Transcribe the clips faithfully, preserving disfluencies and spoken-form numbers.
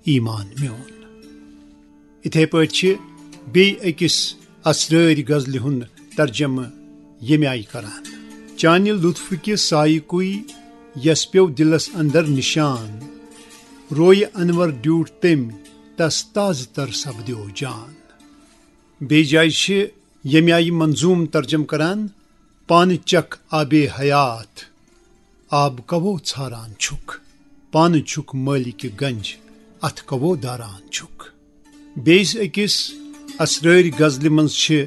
ایمان میون۔ اِتھے پٲٹھۍ چھِ بیٚیہِ أکِس اسرٲرۍ غزلہِ ہُنٛد ترجمہٕ ییٚمہِ آیہِ کران۔ چانہِ لطفہٕ کہِ سایہِ کُے یس پیوٚو دِلس اندر نشان، رویہِ انور ڈیوٗٹھ تٔمۍ تس تازٕ تر سپدیو جان۔ بیٚیہِ جایہِ چھِ ییٚمہِ آیہِ منظوٗم ترجمہٕ کران، پانہٕ چکھ آبے حیات، آب کوو ژھاران چھُکھ، پانہٕ چھُکھ مٲلِکہِ گنج، اتھ کوو داران چھُکھ۔ بیٚیِس أکِس اسرٲرۍ غزلہِ منٛز چھِ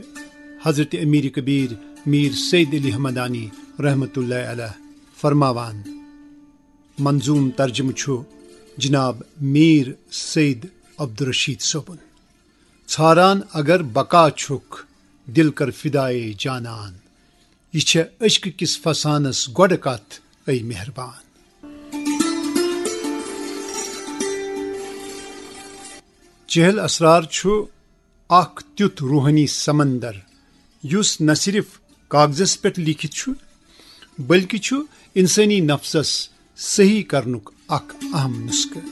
حضرت امیر کبیر میر سید علی حمدانی رحمتہ اللہ علیہ فرماوان، منظوٗم ترجمہٕ چھُ جناب میر سید عبدالرشید صٲبُن۔ ژھاران اگر بقا چھُکھ، دل کر فدائے جانان۔ یہِ چھےٚ عشقہٕ کِس فسانس گۄڈٕ کتھ، اے مہربان۔ چہل اسرار چھُ اکھ تیُتھ روحٲنی سمندر، یُس نہ صرف کاغذس پٮ۪ٹھ لیکھِتھ چھُ، بلکہِ چھُ انسٲنی نفسس صحیح کرنُک اکھ اہم نسخہٕ۔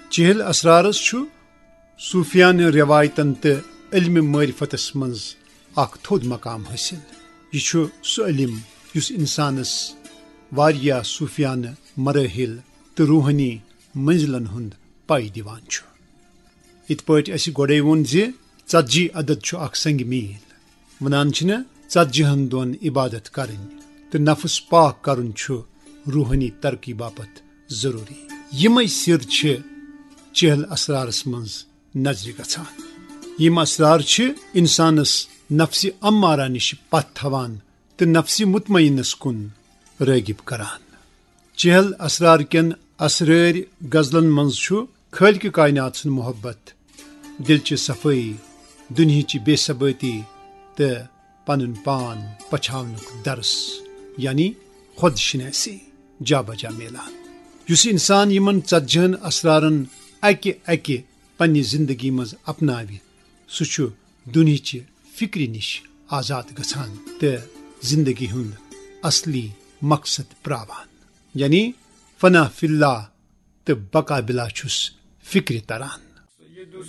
چہل اسرارس چھُ صوفیانہٕ رٮ۪وایتن تہٕ علمِ معرفتس منٛز اکھ تھوٚد مقام حٲصِل۔ یہِ چھُ سُہ علم یُس انسانس واریاہ صوفیانہٕ مراحل تہٕ روحٲنی منزلن ہُنٛد پَے دِوان چھُ۔ یِتھ پٲٹھۍ اَسہِ گۄڈَے ووٚن زِ ژتجی عدد چھُ اکھ سنگ میٖل۔ وَنان چھِنہٕ ژتجی ہن دۄہن عبادت کرٕنۍ تہٕ نفس پاک کرُن چھُ روحٲنی ترقی باپتھ ضروٗری۔ یِمے سِر چھِ چہل اسرارس منٛز نظرِ گژھان۔ یِم اسرار چھِ انسانس نفسِ امارہ نِش پتھ تھاوان تہٕ نفسِ مطمئنس کُن رٲغب کران۔ چہل اسرار کٮ۪ن اسرٲرۍ غزلن منٛز چھُ خٲلقِ کائنات سُنٛد محبت، دِلچہِ صفٲیی، دُنہِچہِ بے ثبٲتی تہٕ پنُن پان پچھاونُک درس، یعنی خود شناسی، جا بجا میلان۔ یُس انسان یِمن ژتجی ہن اسرارن اکہِ اکہِ پننہِ زندگی منٛز اپناوِ، سُہ چھُ دُنہِچہِ فکرِ نِش آزاد گژھان تہٕ زندگی ہُنٛد اصلی مقصد پراوان، یعنی فنا فی اللہ تہٕ بقا بلا چھُس فکرِ تران۔